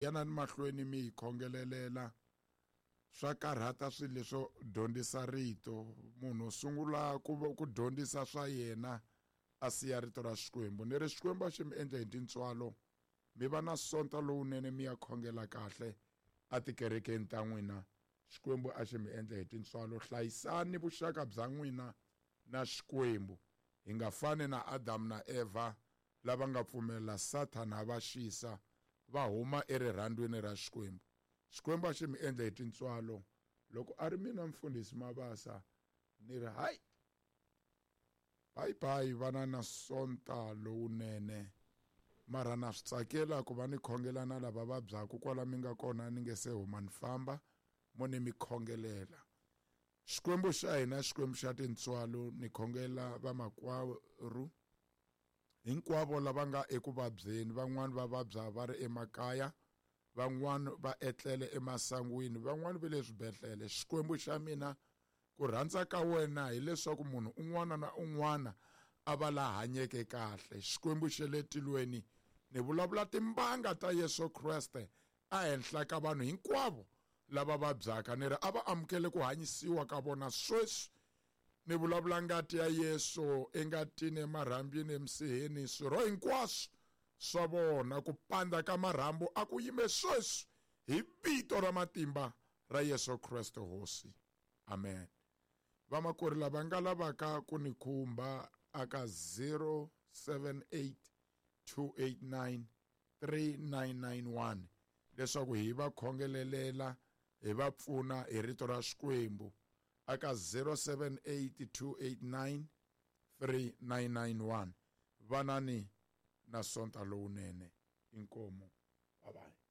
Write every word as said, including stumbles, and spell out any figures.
Yanani mahlweni mi hi khongelelela. Swa karhata swilo leswo dyondzisa rito. Munhu sungula ku ku dyondzisa swa yena a siya rito ra Xikwembu. Ni ri Xikwembu a xi mi endle hi tintswalo, mi va na sonta lowunene, mi ya khongela kahle atikerekeni ta n'wina. Xikwembu a xi mi endle hi tintswalo. Hlayisani vuxaka bya n'wina na Xikwembu. Hi nga fani na Adamu na Eva lava nga pfumelela Sathana a va xisa va huma erirhandzwini ra Xikwembu. Xikwembu a xi mi endle hi tintswalo. Loko a ri mina mfundhisi Mabasa, ni ri hayi, bye bye, vana na sonta lowunene. Mara na swi tsakela ku va ni khongela na lava vabyaka kwala mi nga kona, ni nge se huma ni famba, mo ni mi khongelela. Xikwembu xa hina, Xikwembu xa tintswalo, ni khongela vamakwerhu hinkwavo lava nga eku vabyeni. Van'wani va vabya va ri emakaya, van'wani va etlele emasangwini, van'wani va le swibedhlele. Xikwembu xa mina, ku rhandza ka wena hileswaku munhu un'wana na un'wana a va la hanyeke kahle. Xikwembu xa le tilweni, ni vulavula timbanga ta Yesu Kreste ehenhla ka vanhu hinkwavo lava vabyaka. Ni ri a va amukele ku hanyisiwa ka vona sweswi. Ni vulavula ngati ya Yesu engatini, emarhambini, emisiheni, swirho hinkwaswo swa vona. Ku pandza ka marhambu a ku yime sweswi hi vito ra matimba ra Yesu Kreste Hosi. Amen. Vamakwerhu lava nga lavaka ku ni khumba aka zero seven eight two eight nine three nine nine one leswaku hi va khongelelela, hi va pfuna hi rito ra Xikwembu aka zero seven eight two eight nine three nine nine one. Vanani na sonta lowunene. Inkomu. Bye bye.